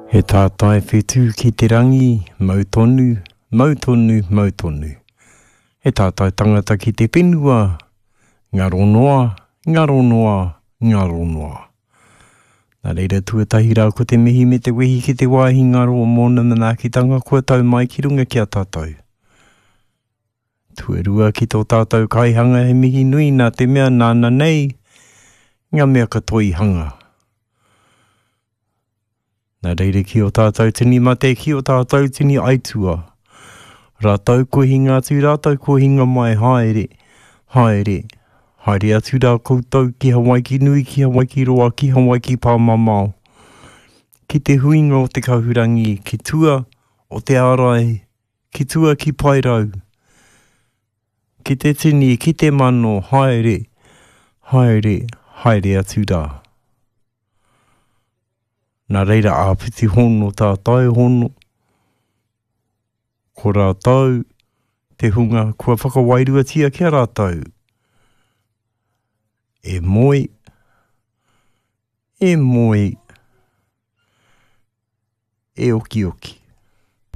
He tātai whetū ki te rangi, mau tonu, mau tonu, mau tonu. He tātai tangata ki te whenua, ngaro noa, ngaro noa, ngaro noa. Nā reira tuatahi rā ko te mihi me te wehi ki te wāhi ngaro o mōna manaakitanga kua tau mai ki runga ki a tātou. Tuarua ki tō tātou kaihanga he mihi nui nā te mea nāna nei ngā mea katoa i hanga. Nā reira ki ō tātou tini mate, ki ō tātou tini aitua. Rātou kua hinga atu, rātou kua hinga mai, haere, haere, haere atu rā koutou ki Hawaiki nui, ki Hawaiki roa, ki Hawaiki pāmamao. Ki te huinga o te kahurangi, ki tua o te ārai, ki tua ki Paerau. Ki te tini, ki te mano, haere, haere, haere atu rā. Nā reira āpiti hono tātai hono, ko rātou te hunga kua whakawairuatia ki a rātou. E moe, e moe, e okioki.